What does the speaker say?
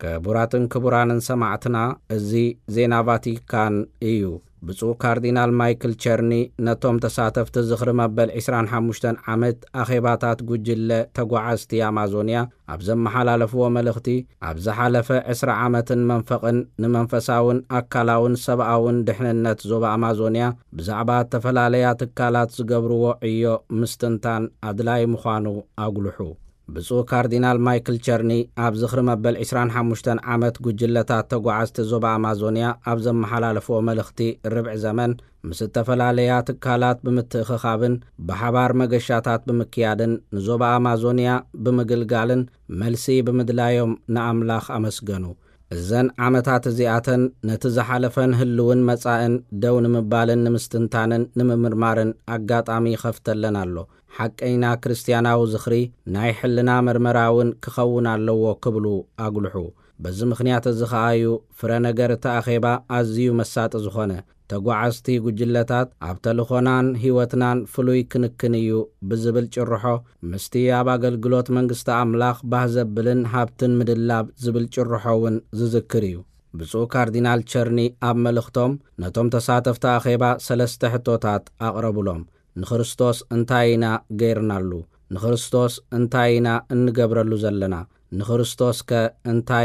ክቡራትን ክቡራንን ሰማዕትና፣ እዚ ዜና ቫቲካን እዩ። ብፁዕ ካርዲናል ማይክል ቸርኒ ነቶም ተሳተፍቲ ዝኽሪ መበል ዕስራን ሓሙሽተን ዓመት ኣኼባታት ጉጅለ ተጓዓዝቲ ኣማዞንያ ኣብ ዘመሓላለፍዎ መልእኽቲ፣ ኣብ ዝሓለፈ ዕስራ ዓመትን መንፈቕን ንመንፈሳውን ኣካላውን ሰብኣውን ድሕንነት ዞባ ኣማዞንያ ብዛዕባ እተፈላለያ ትካላት ዝገብርዎ ዕዮ ምስትንታን ኣድላዪ ምዃኑ ኣጉልሑ። ብፁዕ ካርዲናል ማይክል ቸርኒ ኣብ ዝኽሪ መበል ዕስራን ሓሙሽተን ዓመት ጉጅለታት ተጓዓዝቲ ዞባ ኣማዞንያ ኣብ ዘመሓላለፍዎ መልእኽቲ፣ ርብዒ ዘመን ምስ እተፈላለያ ትካላት ብምትእኽኻብን ብሓባር መገሻታት ብምክያድን ንዞባ ኣማዞንያ ብምግልጋልን መልሲ ብምድላዮም ንኣምላኽ ኣመስገኑ። እዘን ዓመታት እዚኣተን ነቲ ዝሓለፈን ህልውን መጻእን ደው ንምባልን ንምስትንታንን ንምምርማርን ኣጋጣሚ ይኸፍተለን ኣሎ። ሓቀይና ክርስትያናዊ ዝኽሪ ናይ ሕልና መርመራ እውን ክኸውን ኣለዎ ክብሉ ኣጉልሑ። በዚ ምኽንያት እዚ ኸኣ እዩ ፍረ ነገር እቲ ኣኼባ ኣዝዩ መሳጢ ዝኾነ። ተጓዓዝቲ ጉጅለታት ኣብ ተልኾናን ህይወትናን ፍሉይ ክንክን እዩ ብዝብል ጭርሖ፣ ምስቲ ኣብ ኣገልግሎት መንግስቲ ኣምላኽ ባህ ዘብልን ሃብትን ምድላብ ዝብል ጭርሖ እውን ዝዝክር እዩ። ብፁዕ ካርዲናል ቸርኒ ኣብ መልእኽቶም ነቶም ተሳተፍቲ ኣኼባ ሰለስተ ሕቶታት ኣቕረቡሎም። ንክርስቶስ እንታይ ኢና ገይርናሉ? ንክርስቶስ እንታይ ኢና እንገብረሉ ዘለና? ንክርስቶስከ እንታይ